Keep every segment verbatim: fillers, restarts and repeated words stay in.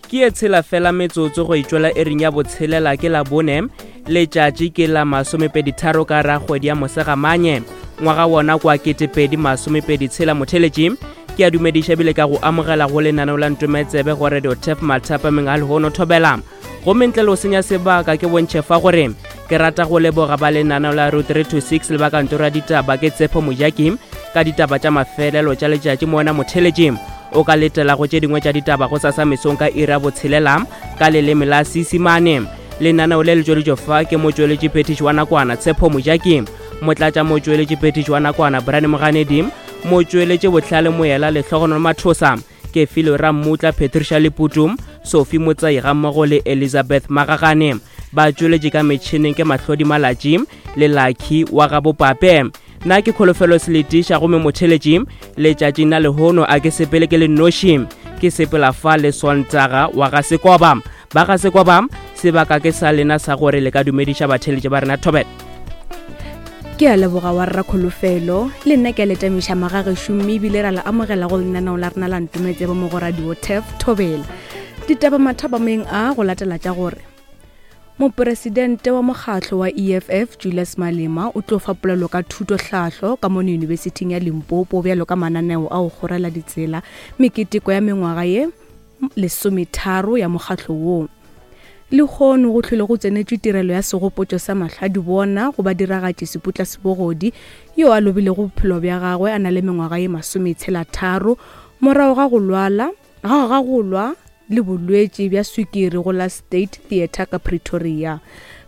Ke ye tshela fela metsotso go itšwela ering ya botshelela ke la bone, letšatši ke la masomepedi tharo ka ra kgwedi ya Mosegamanye, ngwaga wona kwa ketepedi masomepedi tshela. Motheletši, ke a dumediša bile ka go amogela go lenaneo la Ntometsebe go Radio Tef mathapameng a lehono thobela. Gomme ntle le go senya sebaka, ke bontšhe fa gore ke rata go leboga ba lenaneo la Route three to six le ba kantoro ya ditaba ke Tshepo Mojaki ka ditaba tša mafelelo tša letšatši. Moona motheletši o ka letela go tše dingwe tša ditaba go sasa mesong ka iri ya botshelela ka leleme la Seesimane. Lenaneo le le tšweletšo fa ke motšweletši phethiši wa nakwana Tshepo Mojaki, motlatša motšweletši phethiši wa nakwana Brian Moganedi, motšweletši Bohlale Moela, Lehlogonolo Mathosa, Kefilo Rammutla, Patricia Leputu, Sophie Motsai gammogo le Elizabeth Magagane. Ba tšweletše ka metšhineng ke Mahlodi Malatši le Lucky wa gabopape. Nna ke Kholofelo Seletiša, gomme motheletši letšatšing la lehono a ke sepele ke le nnoši, ke sepela fa le Sontaga wa ga Sekoba. Ba ga Sekoba, sebaka ke sa lena sa gore le ka dumediša batheletši ba rena. Thobela. Ke a leboga wa rra Kholofelo. Le nna ke a letamiša magagešo, mme ebile ra le amogela go lenaneo la rena la Ntometsebo mo go Radio Tef Thobela. Ditaba mathapameng a go latela tša gore moporesidente wa mokgatlo wa E F F Julius Malema o tlo fa polelo ka thutohlahlo ka mono Yunibesithing ya Limpopo, bjalo ka mananeo a go kgorela ditsela meketeko ya mengwaga ye lesometharo ya mokgatlo woo. Lehono go hlwele go tsenetšwe tirelo ya segopotšo sa mahladibona go badiragatši Seputla Sebogodi, yo a lobilego bophelo bja gagwe a na le mengwaga ye masometshela-tharo morago ga go lwala ga ga go lwa le bolwetši bja swikiri go la State Theatre ka Pretoria.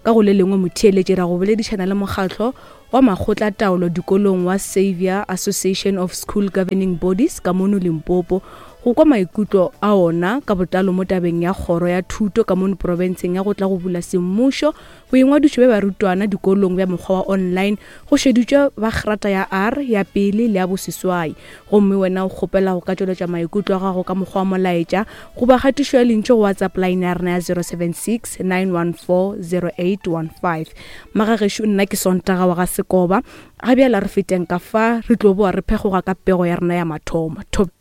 Ka go le lengwe motheeletši, ra go boledišana le mokgatlo wa makgotlataolo dikolong wa Xavier Association of School Governing Bodies ka mono Limpopo go kwa maikutlo a ona ka botlalo mo tabeng ya kgoro ya thuto ka mono profenseng ya go tla go bula semmušo boingwadišo bja barutwana dikolong bja mokgwa wa online go šeditšwe ba grata ya R ya pele le ya boseswai. Gomme wena o kgopela go ka tšweletša maikutlo a gago ka mokgwa wa molaetša goba kgatišo ya lentšu go WhatsApp line ya rena ya zero seven six nine one four zero eight one five. Magagešo, nna ke Sontaga wa ga Sekoba. Ga bjala re feteng ka fa, re tlo boa re phekgoga ka pego ya rena ya mathomo. Thobe.